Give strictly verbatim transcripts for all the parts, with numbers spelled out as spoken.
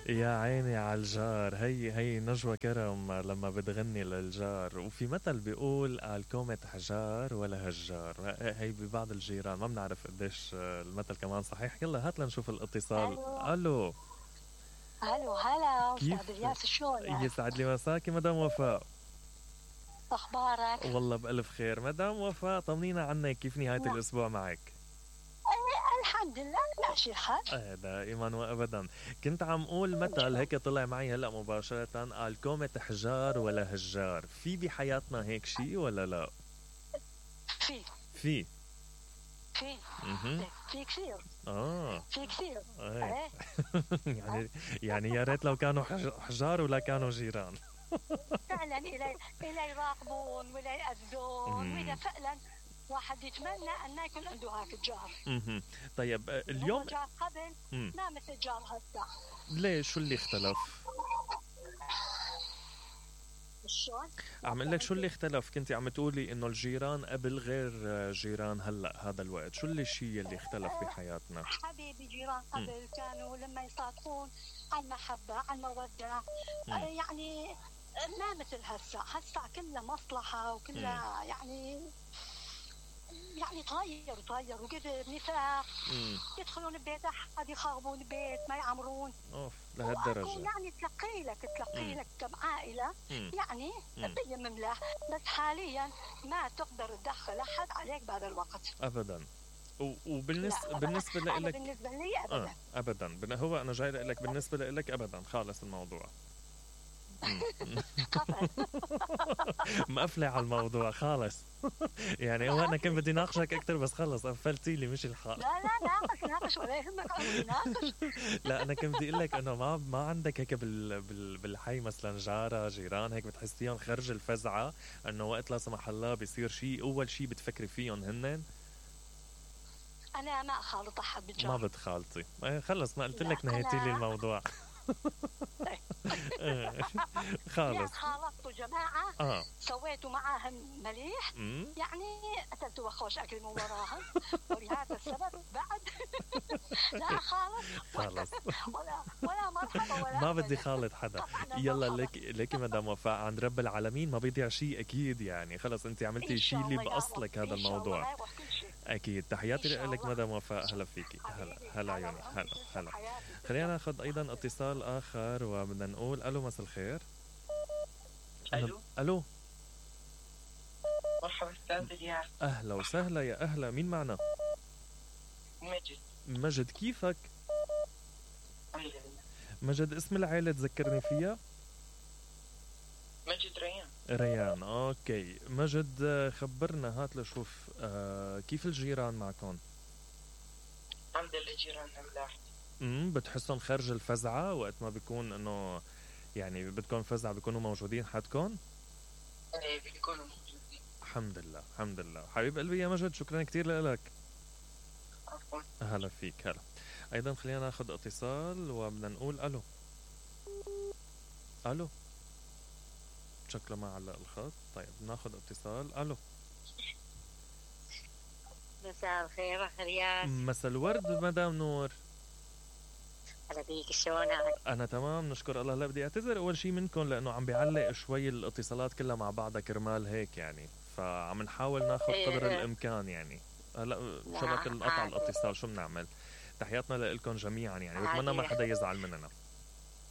يا عيني على الجار. هي هي نجوى كرم لما بتغني للجار، وفي مثل بيقول الكومة حجار ولا هجار. هي ببعض الجيران، ما بنعرف قديش المثل كمان صحيح. يلا هات لنشوف الاتصال. الو الو، الو هلا استاذ كيف؟ الياس، شلونك؟ يسعد لي مساكي مدام وفاء. اخبارك؟ والله بألف خير مدام وفاء، طمنينا عنك، كيف نهاية نعم. الأسبوع معك؟ أي الحمد لله ماشي الحال. آه دائما وابدا. كنت عم اقول مثل هيك طلع معي هلا مباشرة، الكومة حجار ولا هجار. في بحياتنا هيك شيء ولا لا؟ في في في اها في كثير اه في كثير ايه ايه يعني يعني يا ريت لو كانوا حج- حجار ولا كانوا جيران. فعلا الى الى يراقبون ولا يأذون، واذا فعلا واحد يتمنى ان ما يكون عنده هاك الجار. اها طيب آه، هو اليوم جار قبل مم. ما مثل جار هسه. ليش؟ شو اللي اختلف؟ شلون؟ عم اقول لك شو اللي اختلف. كنتي عم تقولي انه الجيران قبل غير آه، جيران هلا هذا الوقت. شو اللي الشيء اللي اختلف بحياتنا؟ حبيبي جيران قبل كانوا لما يصادقون عن محبة عن مودة، مم. آه، يعني ما مثل هسه. هسه كلها مصلحة وكلها يعني يعني تغير تغير وكذا نفاق. امم يدخلون ببيت احد يخربون البيت ما يعمرون. اوف وأكو لهالدرجة. يعني تلقي لك تلقي مم. لك كم عائلة مم. يعني مم. تيمم له، بس حاليا ما تقدر تدخل احد عليك بهذا الوقت. ابدا. و- وبالنسبة لا بالنسبة أنا لك بالنسبة لي ابدا. اه ابدا. بن- هو انا جاي لك بالنسبة لك ابدا خالص الموضوع. مم. قفل. مقفلة على الموضوع خالص. يعني هو انا كنت بدي ناقشك اكثر بس خلص قفلتي لي مش الحال. لا لا ناقش ناقش ولا يهمك عمري ناقش. لا انا كنت بدي اقول لك انه ما ما عندك هيك بال بال بالحي مثلا جاره جيران هيك بتحسيهم خرج الفزعه، انه وقت لا سمح الله بيصير شيء اول شيء بتفكري فيهم هنن. انا ما اخالط احد ما بالجار. بتخالطي. إيه خلص ما قلت لا، لك نهيتي لي أنا- الموضوع. إيه، لا خالص. خالطت جماعة اه سويتوا معاهم مليح، امم يعني أكلت وخوش أكل من وراهم، ولهذا السبب بعد لا خالص خلص ولا ولا مرحبا ولا ما بدي أبدا. خالط حدا. طبعاً يلا مرحبا. لك لك مدام وفاء عند رب العالمين ما بيضيع شيء اكيد. يعني خلص انت عملتي إن شيء شاء اللي الله يا باصلك رب. هذا إن شاء الموضوع. الله يروح كل شيء. اكيد. تحياتي إن شاء لك الله. مدام وفاء. هلا فيكي. هلا حبيبي. هلا عيوني. هلا وأنت هلا. حياتي. خلينا ناخذ ايضا اتصال اخر وبدنا نقول الو مساء الخير. الو الو مرحبا استاذ الياس. اهلا وسهلا. يا اهلا. مين معنا؟ مجد. مجد. كيفك الحمد لله. مجد؟ اسم العائلة تذكرني فيها. مجد ريان. ريان. اوكي مجد آه، خبرنا هات لشوف آه كيف الجيران معكم. الحمد لله جيراننا ملاح. امم بتحسهم خارج الفزعة وقت ما بيكون انه يعني بدكم فزعة بيكونوا موجودين حدكم؟ ايه بيكونوا موجودين. الحمد لله الحمد لله. حبيب قلبي يا مجد، شكرا كتير لك. عفوا. هلا فيك. هلا. ايضا خلينا ناخذ اتصال وبدنا نقول الو. الو شكله ما علق الخط. طيب ناخذ اتصال. الو مساء الخير أخ رياض. مساء الورد مدام نور. هلا بيك، شلونك؟ انا تمام نشكر الله. لا بدي اعتذر اول شيء منكم لانه عم بيعلق شوي الاتصالات كلها مع بعضها كرمال هيك يعني، فعم نحاول ناخذ إيه. قدر الامكان يعني. هلا شبك القطع عادي. الاتصال شو بنعمل. تحياتنا لكم جميعا يعني، بتمنى ما عادي. حدا يزعل مننا.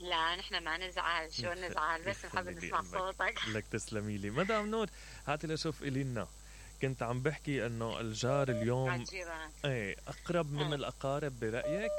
لا نحن ما نزعل، شو يخ- نزعل، بس نحب يخلي نسمع قلبك. صوتك. لك تسلمي لي مدام نور. هاتي لشوف إلينا. كنت عم بحكي انه الجار اليوم عالجيران ايه اقرب من آه. الاقارب برايك.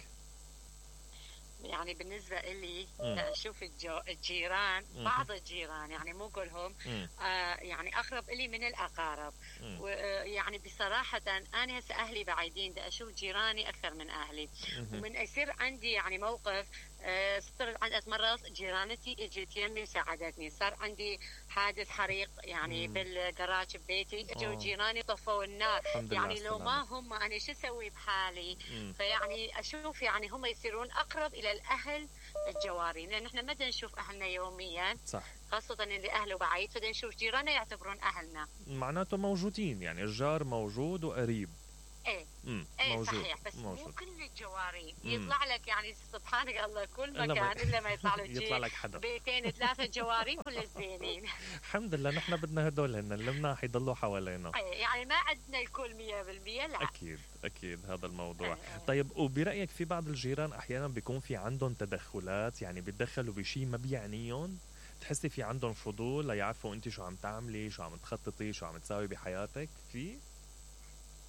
يعني بالنسبة إلي مم. أشوف الجو... الجيران، مم. بعض الجيران يعني مو كلهم، مم. آه يعني أقرب إلي من الأقارب. مم. ويعني بصراحة أنا هسه أهلي بعيدين، دا أشوف جيراني أكثر من أهلي. مهم. ومن يصير عندي يعني موقف، آه صرت عند مرات جيرانتي اجت يمي وساعدتني. صار عندي حادث حريق يعني مم. بالجراج ببيتي، اجوا آه. جيراني طفوا النار. الحمد لله يعني على لو ما السلامة. هم أنا شو أسوي بحالي؟ مم. فيعني أشوف يعني هم يصيرون أقرب إلى الأهل الجوارين، لأن إحنا ما بدنا نشوف أهلنا يوميا، صح. خاصة اللي أهله بعيد، فبدنا نشوف جيراننا يعتبرون أهلنا. معناته موجودين يعني الجار موجود وقريب. إيه امم ايه موجود صحيح، بس مو موجود كل الجواري مم. يطلع لك، يعني سبحانك الله كل إلا ما- مكان الا ما يطلع لك يطلع شيء لك حدا. بيتين ثلاثه جواري كل زينين. الحمد لله نحن بدنا هدول هن اللي مناح يضلوا حوالينا. إيه، يعني ما عندنا الكل مية بالمية، لا. اكيد اكيد هذا الموضوع. إيه. طيب وبرايك في بعض الجيران احيانا بيكون في عندهم تدخلات، يعني بيتدخلوا بشيء ما بيعنيهم، تحسي في عندهم فضول ليعرفوا انت شو عم تعملي، شو عم تخططي، شو عم تساوي بحياتك؟ في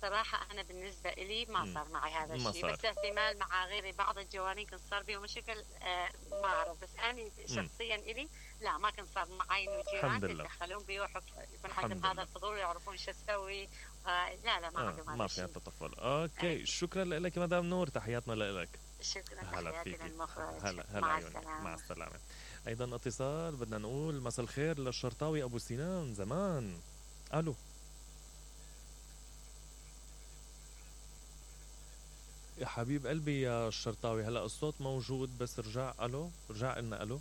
صراحة أنا بالنسبة إلي ما مم. صار معي هذا ما الشيء، صار. بس احتمال مع غيري بعض الجوانين كان صار بيهم مشاكل، آه ما أعرف، بس أنا شخصيا إلي لا، ما كان صار معي إنه جيران الحمد لله. يتدخلون بي ويحط يكون الحمد عندهم هذا لله. الفضول يعرفون شو أسوي. آه لا لا ما آه عندهم هذا ما في الشيء. تطفل. اوكي أي. شكرا لك مدام نور، تحياتنا لك. شكرا، هلا تحياتي فيكي. للمخرج. هلا هلا مع عيوني. السلامة. مع السلامة. ايضا اتصال بدنا نقول مساء الخير للشرطاوي ابو سنان زمان. الو يا حبيب قلبي يا الشرطاوي، هلا الصوت موجود بس رجع. الو رجع قلنا الو.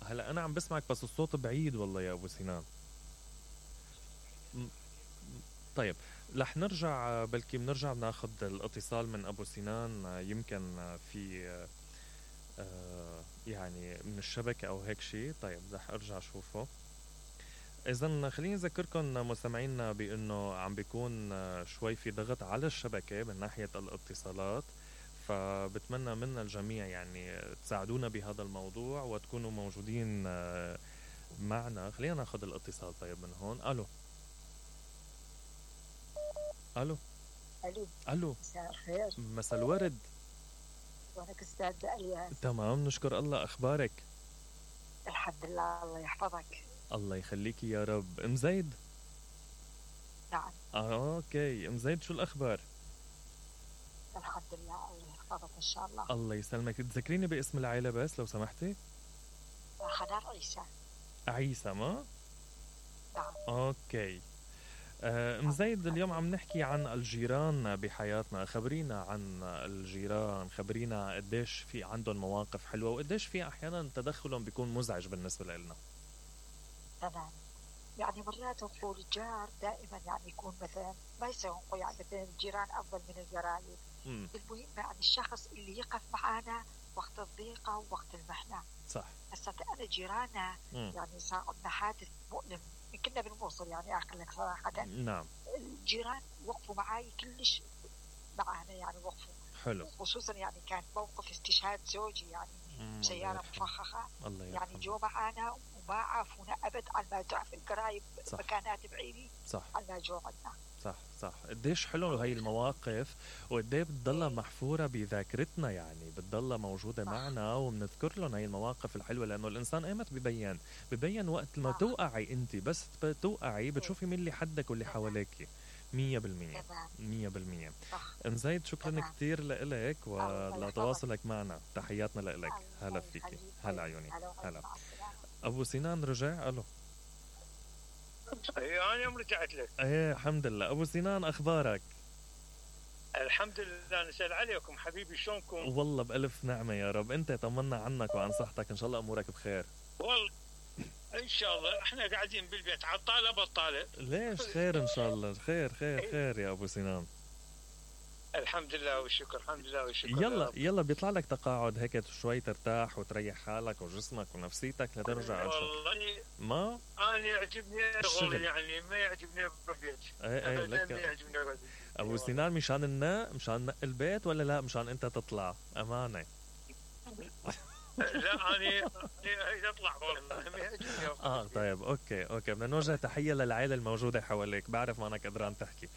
هلا انا عم بسمعك بس الصوت بعيد والله يا ابو سنان. م- م- طيب رح نرجع، بلكي بنرجع بناخذ الاتصال من ابو سنان، يمكن في آه، يعني من الشبكة او هيك شيء. طيب رح ارجع اشوفه. اذا خليني اذكركم مستمعينا بانه عم بيكون آه، شوي في ضغط على الشبكة من ناحية الاتصالات، فبتمنى من الجميع يعني تساعدونا بهذا الموضوع وتكونوا موجودين آه، معنا. خلينا ناخذ الاتصال طيب من هون. الو الو الو الو مساء الخير، مساء الورد. وانا استاذ الياس. تمام نشكر الله، اخبارك؟ الحمد لله، الله يحفظك. الله يخليكي يا رب. ام زيد؟ نعم آه اوكي ام زيد، شو الاخبار؟ الحمد لله، الله يحفظك ان شاء الله. الله يسلمك. تذكريني باسم العيلة بس لو سمحتي. حنان عيسى. عيسى ما؟ نعم. اوكي. آه، ام زيد اليوم عم نحكي عن الجيران بحياتنا. خبرينا عن الجيران، خبرينا قديش في عندهم مواقف حلوة وقديش في احيانا تدخلهم بيكون مزعج بالنسبة لنا. تمام. يعني مرات نقول الجار دائما يعني يكون مثلا ما يسوقوا، يعني مثلا الجيران افضل من القرايب. امم المهم يعني الشخص اللي يقف معنا وقت الضيقه ووقت المحنه. صح. هسه انا جيراننا مم. يعني صار عندنا حادث مؤلم، كنا بالموصل يعني اخر لك صراحه. نعم. الجيران وقفوا معي كلش معنا، يعني وقفوا، حلو. خصوصا يعني كان موقف استشهاد زوجي يعني مم، سيارة الله يرحمه. مفخخة، الله يعني يرحمه. جو معنا وما عافونا أبد على ما تعرف القرايب صح. مكانات بعيدة صح على ما جو عنا. صح صح. قديش حلو هاي المواقف وقديه بتضلها محفورة بذاكرتنا، يعني بتضلها موجودة صح. معنا وبنذكر لهم هاي المواقف الحلوة، لأنه الإنسان ايمت ببين ببين وقت ما صح. توقعي أنت، بس توقعي بتشوفي مين اللي حدك واللي تمام. حواليكي. مية بالمية تمام. مية بالمية. صح. ام زيد شكرا تمام. كتير لإلك الله ولتواصلك معنا. تحياتنا لإلك. الله هلا فيكي. يخليك. هلا عيوني. هلا هلا. مع السلامة. أبو سنان رجع. ألو. اي انا يوم رجعت لك. ايه الحمد لله. أبو سنان أخبارك؟ الحمد لله، نسأل عليكم حبيبي، شلونكم؟ والله بألف نعمة يا رب. أنت طمنا عنك وعن صحتك، إن شاء الله أمورك بخير. والله ان شاء الله احنا قاعدين بالبيت عطاله بطاله. ليش؟ خير إن شاء الله. خير خير خير يا أبو سنان. الحمد لله والشكر، الحمد لله والشكر. يلا يلا بيطلع لك تقاعد هيك شوي ترتاح وتريح حالك وجسمك ونفسيتك لترجع على الشغل. والله ما؟ انا يعجبني الشغل. الشغل، يعني ما يعجبني بالبيت. ايه ايه أبداً ما لك. يعجبني بالبيت. أبو سنان مشان النق مشان نق البيت ولا لا مشان أنت تطلع؟ أمانة. لا انا أنا اطلع والله ما يعجبني. اه طيب اوكي اوكي. بدنا نوجه تحية للعائلة الموجودة حواليك، بعرف ما انك قدران تحكي.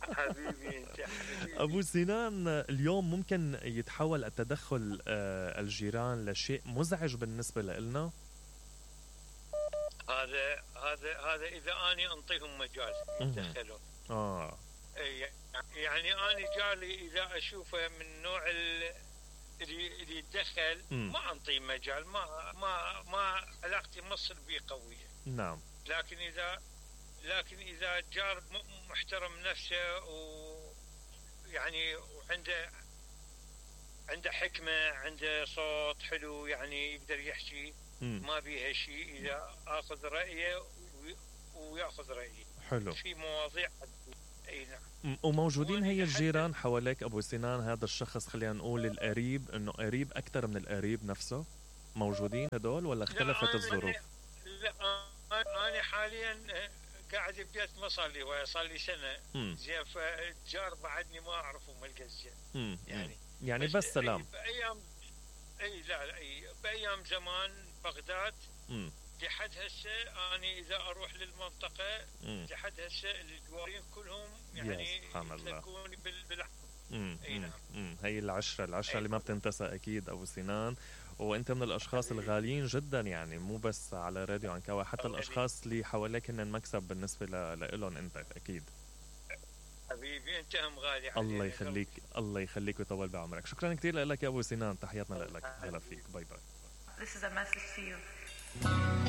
حبيبي انت حبيبي. ابو سنان اليوم ممكن يتحول التدخل آه، الجيران لشيء مزعج بالنسبة لنا؟ هذا هذا هذا اذا اني انطيهم مجال يتدخلون. اه إيه، يعني انا جاري اذا اشوفه من نوع ال- اللي اللي يتدخل مم. ما انطيه مجال، ما ما ما علاقتي مصر بيه قويه. نعم. لكن اذا لكن اذا جار م- محترم نفسه و يعني وعنده عنده حكمه، عنده صوت حلو، يعني يقدر يحكي مم. ما بيها شيء، اذا اخذ رايه وي- وياخذ رايي حلو. في مواضيع اي نعم. م- وموجودين هي وأنا الجيران حواليك ابو سنان، هذا الشخص خلينا نقول القريب، انه قريب اكثر من القريب نفسه، موجودين هدول ولا اختلفت لا، الظروف؟ أنا- لا أنا- انا حاليا قاعد ببيت ما صار لي هوايه، صار لي سنه. مم. زين فالجار بعدني ما اعرفه ما القى زين مم. يعني. يعني بس سلام. بايام اي لا لا اي بايام زمان بغداد مم. لحد هسه انا اذا اروح للمنطقه مم. لحد هسه الجوارين كلهم يا يعني سبحان الله. يتلقوني بال بال امم اي نعم. امم هي العشرة العشرة أي. اللي ما بتنتسى اكيد ابو سنان، وانت من الاشخاص حبيبي. الغاليين جدا، يعني مو بس على راديو عنكاوي، حتى حبيبي. الاشخاص اللي حواليك هن مكسب بالنسبه ل- لإلهم انت اكيد. حبيبي انت هم غالي علي. الله يخليك، الله يخليك ويطول بعمرك. شكرا كثير لك يا ابو سنان، تحياتنا لك، هلا فيك، باي باي. This is a message to you.